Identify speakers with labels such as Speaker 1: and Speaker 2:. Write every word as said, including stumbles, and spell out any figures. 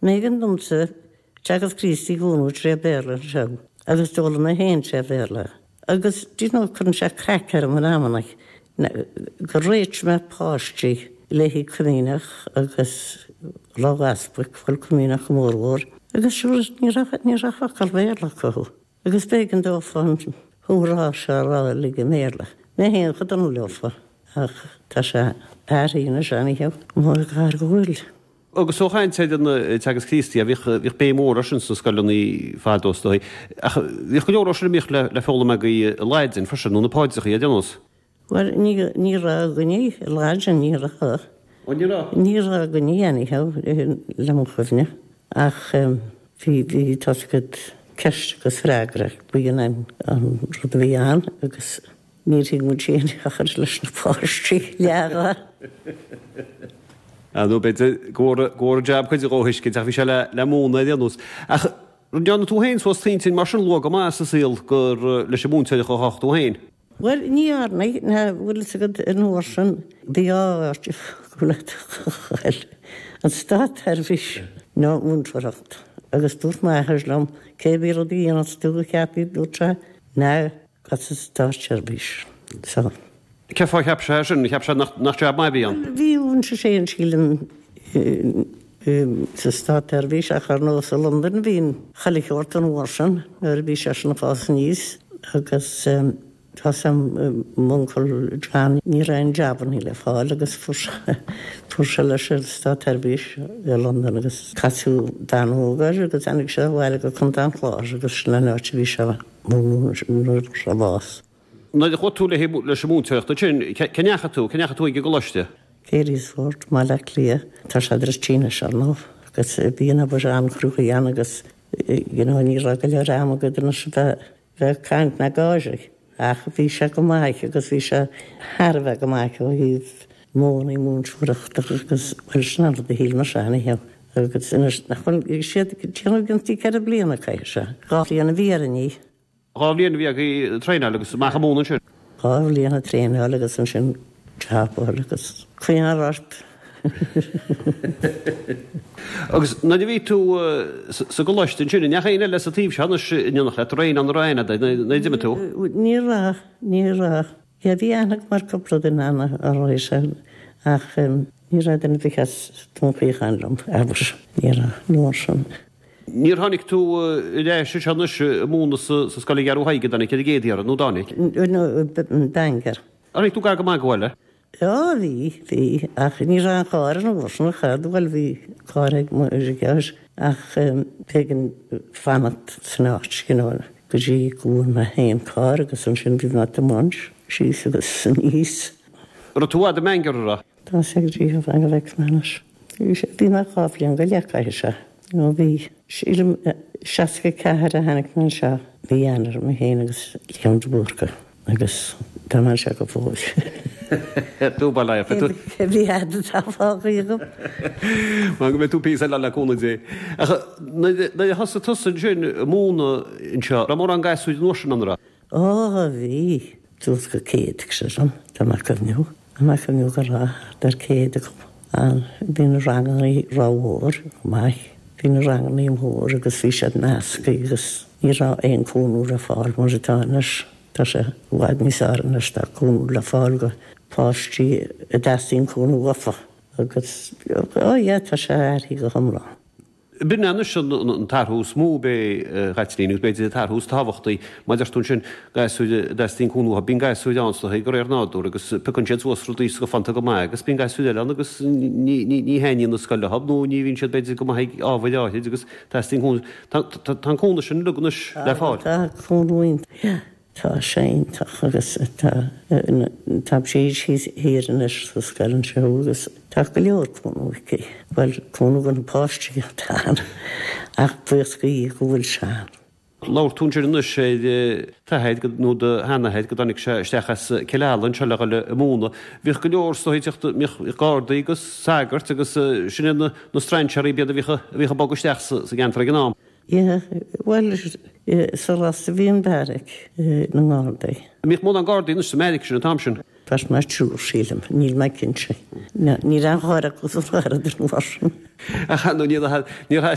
Speaker 1: B'éigean domsa Teagasc Críostaí a mhúineadh tré Bhéarla anseo agus d'fhoghlaim mé féin tré Bhéarla. Agus do you know cuireann sé craic orm in amanna gur réitigh mé páistí le haghaidh Comaoineach agus Lá an Easpaig, bhuel Comaoineach go mórmhór, agus sure ní raibh ní raibh focal Béarla acu. Agus b'éigean dófa an comhrá seo a rá uilig i mBéarla. Mé féin chomh dona leofa ach tá sé athraithe anois anyhow. Mo ghair go bhfuil.
Speaker 2: Agus ó chaint ar an Teagasc Críostaí, bhíodh bhíodh béim mhór air sin sna scoileanna fadó is dóigh. Ach bhíodh go leor sin a mbíodh le le foghlaim agaibh i Laidin freisin, nó na paidreacha ar aon nós.
Speaker 1: Bhuel ní ní raibh againne i Laidin, ní raibh.
Speaker 2: Ó ní raibh?
Speaker 1: Ní raibh againne anyhow le mo chuimhne. Ach bhí bhí tá a fhios agat ceist agus freagra, b'in an an rud a bhí ann agus Níor thuig muid féin a chur leis na páistí leath.
Speaker 2: Nó b'fhéidir go bhfuair an jab cuid dhó thuiscint ach bhí sé le múineadh ar aon nós. Ach ndearna tú féin suas t'intinn mar sin luath go maith sa saol gur leis an múinteoireacht a ghabhfadh tú féin?
Speaker 1: Bhuel, ní dhearna, ná bhfuil fhios agat an uair sin bhí dhá áit go bhfuil an státsheirbhís nó múinteoireacht. Agus dúirt m'athair liom cé bith rud a dhéanfas tú a cheapaí, dúirt sé, ná Gabh sa státseirbhís so.
Speaker 2: Cén fáth a cheap sé sin? Cheap sé nach jab maith a bhí ann?
Speaker 1: Bhí sé féin sílim sa státseirbhís ach ar nós i Londain bhí chuile shórt an uair sin nuair a bhí seisean ag fás aníos agus tá 's a'm m'uncail John ní raibh aon jabannaí le fáil agus fuair sé fuair sé leis an státseirbhís i Londain agus casadh bean óg air agus tháinig sé abhaile go Contae an Chláir agus sin an áit a bhí sé. Nuair a fuair sé bás.
Speaker 2: Nuair a chuaigh tú leis an múinteoireacht ansin, cá ndeachaigh tú, cá ndeachaigh tú ag an gcoláiste?
Speaker 1: Carysfort, Baile Átha Cliath. Tá sé druidte anois, ar ndóigh, agus bhí an obair an-chruaidh ann agus you know ní raibh go leor ama agat anois a bheith bheith ag caint ná gáirí. Ach bhí sé go maith agus bhí sé thar a bheith go maith ó thaobh modhanna múinteoireachta agus bhuel sin an rud a shíl mise anyhow. Agus anois nach bhfuil siad ag déanamh iontaí ceithre bliana caithfidh sé. Dhá bhliain a bhí orainn í.
Speaker 2: Dhá bhliain a bhí agaibh traenáil agus amach ag múineadh ansin.
Speaker 1: Dhá bhliain ag traenáil agus ansin job a fháil agus coinneáil ort.
Speaker 2: Agus nuair a bhí tú sa gcoláiste ansin, an ndeachaigh éinne eile as an taobh seo anois in éineacht leat, an raibh éinne ann a raibh aithne agat nuair a d'imigh tú?
Speaker 1: Ní raibh, ní raibh. Yeah bhí aithne agam ar cúpla duine ann a raibh sé ach ní raibh duine ar bith as Dún Chaocháin liom, abair, ní raibh, an uair sin.
Speaker 2: Níor tháinig tú ar ais anseo anois ag múineadh sa scoil i gCeathrú Thaidhg, an dtáinig, ar an gcéad iarraidh, nó dtáinig?
Speaker 1: No, Bangor.
Speaker 2: Ar tháinig tú gar go maith go bhaile?
Speaker 1: Á bhí, bhí, ach ní raibh aon charr an uair sin, cha raibh, bhuel bhí carr ag m'athair ach b'éigean fanacht san áit, you know, go dtí go bhfuair mé féin carr agus ansin bhí mé ag tiomáint síos agus aníos.
Speaker 2: An raibh tú i bhfad i mBangor, an raibh?
Speaker 1: Tá sé go dtí go bhfeicfidh mé anois. Bhí mé dhá bhliain go leith caithfidh sé. Nó bhí. Sílim seasca ceathair a tháinig mé anseo. Mí Eanáir, mé féin agus Liam de Búrca agus tá mé anseo go fóill.
Speaker 2: Dúbailt é, fe.
Speaker 1: Cé bith fhad atá fágtha agam.
Speaker 2: Mar go mbeidh tú píosa eile le cúnamh Dé. Ach nuair a thosaigh tusa ansin ag múineadh anseo, raibh mórán gasúir an uair sin ann, an raibh?
Speaker 1: Ó, bhí. Suas go céad, sílim, tá mé ag cuimhniú. Tá mé ag cuimhniú go raibh thart ar céad acu ann. Bhí na ranganna rómhór, maith. Bhí na ranganna mór agus bhí siad measctha agus ní raibh aon cúnamh le fáil mar atá anois. Tá sé i bhfad níos fearr anois, tá cúnamh le fáil go páistí a dteastaíonn cúnamh uafa agus, oh yeah, tá sé athraithe go hiomlán.
Speaker 2: B'in é anois an t-athrú is mó ab é, a Chaitlín, agus b'fhéidir an t-athrú is tábhachtaí. Mar a deir tú ansin, gasúir a dteastaíonn cúnamh uathu. Bíonn gasúir ann is dóigh, de réir nádúir, agus piocann siad suas rudaí is go fanta go maith, agus bíonn gasúir eile ann agus ní thaitníonn an scoil leo nó ní bhíonn siad b'fhéidir go maith ag ábhair áithrid agus teastaíonn cúnamh. Tá an cúnamh sin uilig anois le fáil.
Speaker 1: Tá cúnamh iontach. Tá sé iontach agus tá tá Bríd thíos thiar anois sa scoil anseo agus tá go leor cúnamh aici. Bhuel, cúnamh do na páistí atá ann ach buíochas do Dhia go bhfuil sé ann.
Speaker 2: Labhair tú ansin anois ar d'athair nó do sheanathair go dtáinig sé isteach as Cill Ala anseo le dhul ag múineadh. Bhíodh go leor is dóigh ag teacht, bhíodh gardaí agus sagairt agus sin iad na strainséaraí b'fhéidir a bhíodh a bhíodh ag bogadh isteach sa gceantar ag an am.
Speaker 1: Yeah, bhuel, Sa lasta bhí an beairic na nGardaí.
Speaker 2: Bhíodh mórán Gardaí anois sa mbeairic sin an t-am sin.
Speaker 1: Beirt nó triúr sílim, níl mé cinnte. Ní raibh aon gharda acu san áireamh mar sin.
Speaker 2: Ach nó níor níor